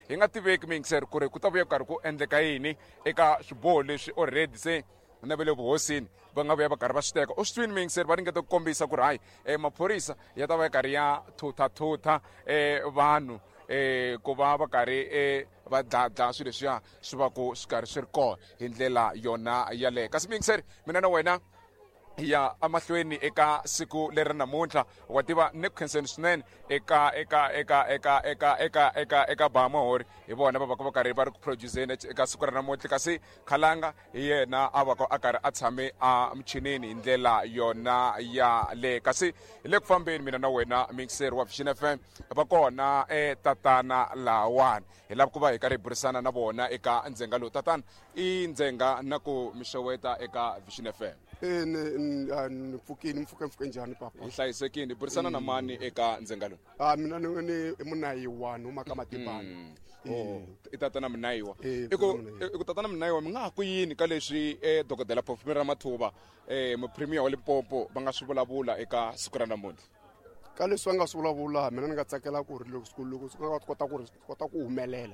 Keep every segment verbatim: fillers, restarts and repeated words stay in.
Hi nga tiveki miyingiseri ku ri ku ta vuya ku karhi ku endleka yini eka swiboho leswi already se na va le vuhosini va nga vuya va karhi va swi teka. U swi twini miyingiseri, va ringeta ku kombisa ku ri hayi, um maphorisa ya ta va ya karhi ya thuthathutha um vanhu um ku va va karhi um va dladla swilo leswiya swi va ku swi karhi swi ri kona hi ndlela yona yaleyo. Kasi miyingiseri, mina na wena hi ya emahlweni eka siku leri namuntlha. Wa tiva ni ku khenseni swinene eka eka eka eka eka eka eka eka Bahamahori, hi vona va va va karhi va ri ku produceni eka siku ra namuntlha, kasi Khalanga hi yena a va a karhi a tshame a michinini hi ndlela yona yaleyo. Kasi hi le ku fambeni mina na wena mixer wa Vision F M, va kona eh, tatana lahawani hi lava ku va hi karhi hi burisana na vona eka ndzhenga lowu. Tatana, i ndzhenga na ku mi xeweta eka Vision F M. E ni ni pfukini, mpfuke mpfuke njhani papa? Hi hlayisekile. Hi burisana na mani eka ndzhenga lowu? Ah, mina ni ni i Munayiwa, ni huma ka Matibana. Oh, i tatana Munayiwa. Eh, I ku Munayiwa. i ku tatana Munayiwa, mi nga ha ku yini ka leswi eh, dokodela Phofumira Ramathuba, eh, mupremier wa Limpopo va nga swi vulavula eka siku ra namuntlha? Ka leswi va nga swi vulavula, mina ni nga tsakela ku ri loko loko swi nga kota ku ri kota ku humelela,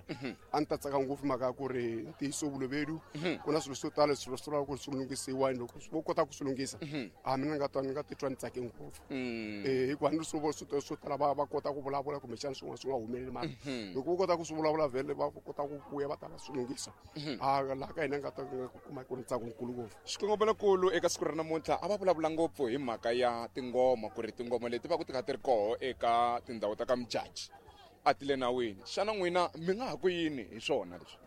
a ni ta tsaka ngopfu mhaka ya ku ri ntiyiso vulovedu ku na swilo swo tala leswi swi lavaka ku ri swi lunghisiwa, loko vo kota ku swi lunghisa, a mina ni nga twa ni nga titwa ni tsake ngopfu. Eh, hikuva ni swi swo swo tala va va kota ku vulavula kumbexana swin'wana swi nga humeleli, mara loko vo kota ku swi vulavula vhele va kota ku vuya va ta va swi lunghisa, a laha ka hina nga ta kuma ku ri ntsako nkulu ngopfu. Xikongomelokulu eka siku ra namuntlha a va vulavula ngopfu hi mhaka ya tingoma, ku ri tingoma leti va ku ti kha ti ri koho eka tindhawu ta ka Mjaji a ti le nawini. Xana n'wina mi nga ha ku yini hi swona leswi?